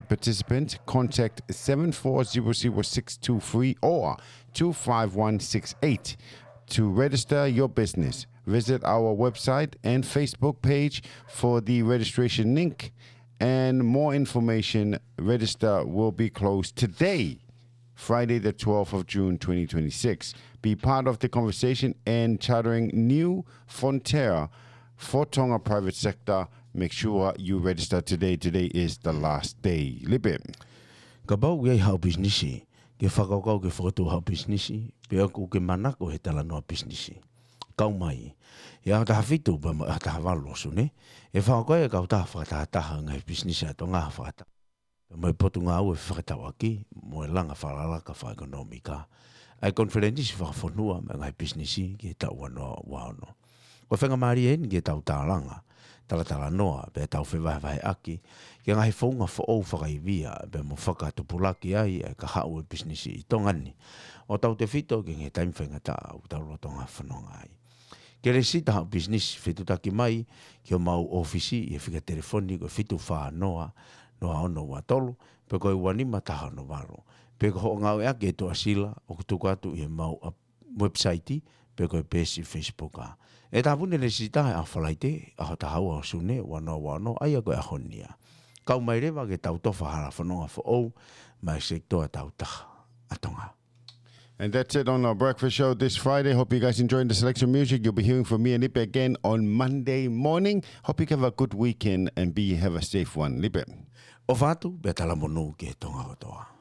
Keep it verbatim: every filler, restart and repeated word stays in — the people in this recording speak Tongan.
participant, contact seven four zero zero six two three or two five one six eight to register your business. Visit our website and Facebook page for the registration link and more information. Register will be closed today, Friday the twelfth of June twenty twenty-six. Be part of the conversation and chartering new frontier for Tonga private sector. Make sure you register today. Today is the last day. Lipe. Kapau ʻoku ʻi ai haʻo pisinisi, ke fakakaukau ke fokotuʻu haʻo pisinisi, pe ʻoku ke manako he talanoa pisinisi, kau mai. ʻI he ʻaho taha fitu pea mo e ʻaho taha valu ʻo Sune, ʻe fakakaukau e kautaha fakatahataha ngaahi pisinisi ʻa Tonga fakata- pea mo e Potungāue Fefakatauʻaki mo e Langa Fakalakalaka Fakaʻekonōmika ʻa e konifelenisi fakafonua mo e ngaahi pisinisi ki he taʻu ua noa ua ono. Ko e faingamālie eni ke tau tālanga, talatalanoa, pea tau fevahevaheʻaki ki he ngaahi founga foʻou fakaivia, pea mo fakatupulaki ai ʻa e kahaʻu ʻo e pisinisi ʻi Tonga ni, ʻo tautefito ki he ngaahi taimi faingataʻa ʻoku tau lolotonga fononga ai. Ke lēsisita haʻo pisinisi, fetuʻutaki mai ki homau ʻōfisi ʻi he fika telefoni ko e fitu fā noa, noa ono ua tolu, pe ko e ua nima taha ono valu, pe ko hoʻo ngāueʻaki e tuʻasila ʻoku tuku atu ʻi heʻemau ʻa-, website, pe ko e peesi Facebook ʻa. ʻE tāpuni e lēsisita he ʻaho Falaite, ʻaho taha ua ʻo Sune, ua noa ua ono, ʻa ia ko e ʻaho ni ia. Kau mai leva ke tau tofa hala fononga foʻou maʻa e sekitoa tau taha ʻa Tonga. And that's it on our breakfast show this Friday. Hope you guys enjoyed the selection music. You'll be hearing from me and Lipe again on Monday morning. Hope you have a good weekend and be, have a safe one. Lipe. ʻOfa atu, pea talamonū ki he Tonga kotoa.